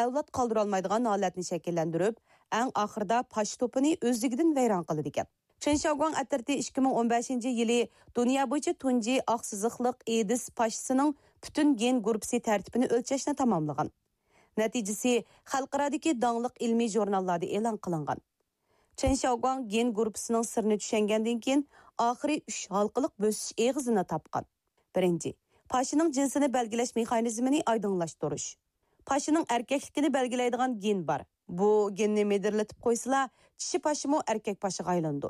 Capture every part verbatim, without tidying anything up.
ئەۋلاد قالدۇرالمايدىغان ھالەتنى شەكىللەندۈرۈپ، ئەڭ ئاخىرىدا پاشا توپىنى ئۆزلۈكىدىن ۋەيران قىلىدىكەن. چېن شياۋگۇاڭ ئەترىتى ئىككى مىڭ ئون بەشىنچى يىلى دۇنيا بويىچە تۇنجى ئاقسىزىقلىق ئېدىس پاشىسىنىڭ پۈتۈن گېن گۇرۇپپىسى تەرتىپىنى ئۆلچەشنى تاماملىغان. نەتىجىسى خەلقئارادىكى داڭلىق ئىلمىي ژۇرناللاردا ئېلان قىلىنغان. چېن شياۋگۇاڭ گېن گۇرۇپپىسىنىڭ سىرىنى چۈشەنگەندىن كېيىن، ئاخىرى ئۈچ ھالقىلىق بۆسۈش ئېغىزىنى تاپقان. بىرىنچى، پاشىنىڭ جىنسىنى بەلگىلەش مېخانىزمىنى ئايدىڭلاشتۇرۇش. پاشىنىڭ ئەركەكلىكىنى بەلگىلەيدىغان گېن بار. بۇ گېننى مىدىرلىتىپ قويسىلا، چىشى پاشىمۇ ئەركەك پاشىغا ئايلىنىدۇ.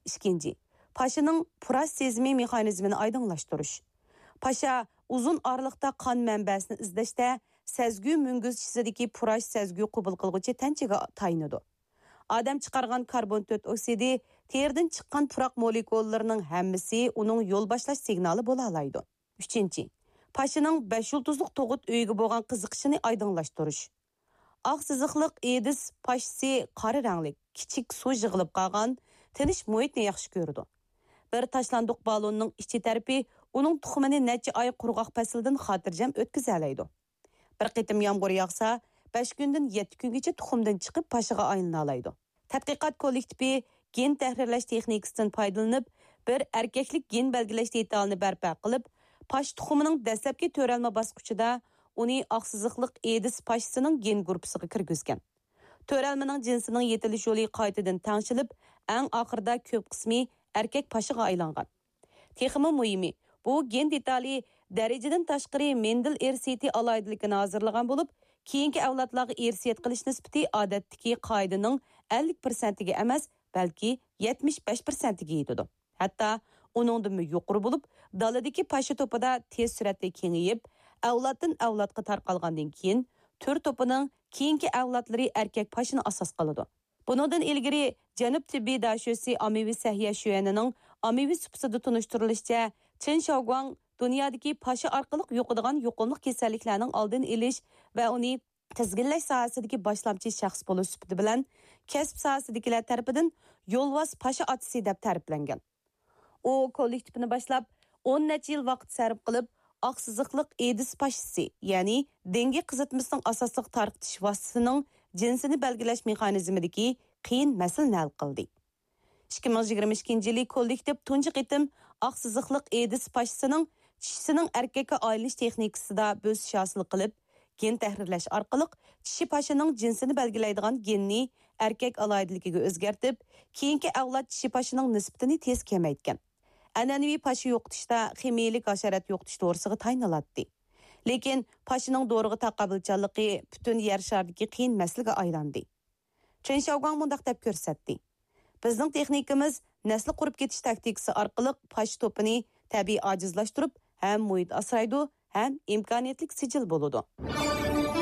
ئىككىنچى، پاشىنىڭ پۇراش سېزىمى مېخانىزمىنى ئايدىڭلاشتۇرۇش. پاشا ئۇزۇن ئارىلىقتا قان مەنبەسىنى ئىزدەشتە، سەزگۈ مۈڭگۈزچىسىدىكى پۇراش سەزگۈ قوبۇل قىلغۇچى تەنچىگە تايىنىدۇ. ئادەم چىقارغان كاربون تۆت ئوكسىدى، تېرىدىن چىققان پۇراق مولېكۇللىرىنىڭ ھەممىسى ئۇنىڭ يول باشلاش سىگنالى بولالايدۇ. ئۈچىنچى، پاشىنىڭ بەش يۇلتۇزلۇق تۇغۇت ئۆيىگە بولغان قىزىقىشىنى ئايدىڭلاشتۇرۇش. ئاق سىزىقلىق ئېدىس پاشىسى قارا رەڭلىك، كىچىك سۇ يىغىلىپ قالغان، تىنچ مۇھىتنى ياخشى كۆرىدۇ. بىر تاشلاندۇق بالوننىڭ ئىچى تەرىپى ئۇنىڭ تۇخۇمىنى نەچچە ئاي قۇرغاق پەسىلدىن خاتىرجەم ئۆتكۈزەلەيدۇ. بىر قېتىم يامغۇر ياغسا، بەش كۈندىن يەتتە كۈنگىچە تۇخۇمدىن چىقىپ پاشىغا ئايلىنالايدۇ. تەتقىقات كوللېكتىپى گېن تەھرىرلەش تېخنىكىسىدىن پايدىلىنىپ، بىر ئەركەكلىك گېن بەلگىلەش دېتالىنى بەرپا قىلىپ، پاشا تۇخۇمىنىڭ دەسلەپكى تۆرەلمە باسقۇچىدا ئۇنى ئاقسىزىقلىق ئېدىس پاشىسىنىڭ گېن گۇرۇپپىسىغا كىرگۈزگەن. تۆرەلمىنىڭ جىنسىنىڭ يېتىلىش يولى قايتىدىن تەڭشىلىپ، ئەڭ ئاخىرىدا كۆپ قىسمى ئەركەك پاشىغا ئايلانغان. تېخىمۇ مۇھىمى، بۇ گېن دېتالى دەرىجىدىن تاشقىرى مېندېل ئىرسىيىتى ئالاھىدىلىكىنى ھازىرلىغان بولۇپ، كېيىنكى ئەۋلادلارغا ئىرسىيەت قىلىش نىسبىتى ئادەتتىكى قائىدىنىڭ ئەللىك پىرسەنتىگە ئەمەس، بەلكى يەتمىش بەش پىرسەنتىگە يېتىدۇ. ھەتتا ئۇنىڭدىنمۇ يۇقىرى بولۇپ، دالىدىكى پاشا توپىدا تېز سۈرئەتتە كېڭىيىپ، ئەۋلادتىن ئەۋلادقا تارقالغاندىن كېيىن، تۈر توپىنىڭ كېيىنكى ئەۋلادلىرى ئەركەك پاشىنى ئاساس قىلىدۇ. بۇنىڭدىن ئىلگىرى جەنۇب تېببىي داشۆسى ئاممىۋى سەھىيە شۆئەنىنىڭ ئاممىۋى سۇپىسىدا تونۇشتۇرۇلۇشىچە، چېن شياۋگۇاڭ دۇنيادىكى پاشا ئارقىلىق يۇقىدىغان يۇقۇملۇق كېسەللىكلەرنىڭ ئالدىنى ئېلىش ۋە ئۇنى تىزگىنلەش ساھەسىدىكى باشلامچى شەخس بولۇش سۈپىتى بىلەن كەسىپ ساھەسىدىكىلەر تەرىپىدىن يولۋاس پاشا ئاتىسى دەپ تەرىپلەنگەن. ئۇ كوللېكتىپىنى باشلاپ، ئون نەچچە يىل ۋاقىت سەرپ قىلىپ، ئاقسىزىقلىق ئېدىس پاشىسى، يەنى دېڭگە قىزىتمىسىنىڭ ئاساسلىق تارقىتىش ۋاسىتىسىنىڭ جىنسىنى بەلگىلەش مېخانىزمىدىكى قىيىن مەسىلىنى ھەل قىلدى. ئىككى مىڭ يىگىرمە ئىككىنچى يىلى كوللېكتىپ تۇنجى قېتىم ئاقسىزىقلىق ئېدىس پاشىسىنىڭ چىشىسىنىڭ ئەركەككە ئايلىنىش تېخنىكىسىدا بۆسۈش ھاسىل قىلىپ، گېن تەھرىرلەش ئارقىلىق چىشى پاشىنىڭ جىنسىنى بەلگىلەيدىغان گېننى ئەركەك ئالاھىدىلىكىگە ئۆزگەرتىپ، كېيىنكى ئەۋلاد چىشى پاشىنىڭ نىسبىتىنى تېز كېمەيتكەن. ئەنئەنىۋى پاشا يوقىتىشتا خىمىيەلىك ھاشارات يوقىتىش دورىسىغا تايىنىلاتتى. لېكىن پاشىنىڭ دورىغا تاقابىلچانلىقى پۈتۈن يەر شارىدىكى قىيىن مەسىلىگە ئايلاندى. چېن شياۋگۇاڭ مۇنداق دەپ كۆرسەتتى: بىزنىڭ تېخنىكىمىز نەسلى قۇرۇپ كېتىش تاكتىكىسى ئارقىلىق پاشا توپىنى تەبىئىي ئاجىزلاشتۇرۇپ، ھەم مۇھىت ئاسرايدۇ، ھەم ئىمكانىيەتلىك سىجىل بولىدۇ.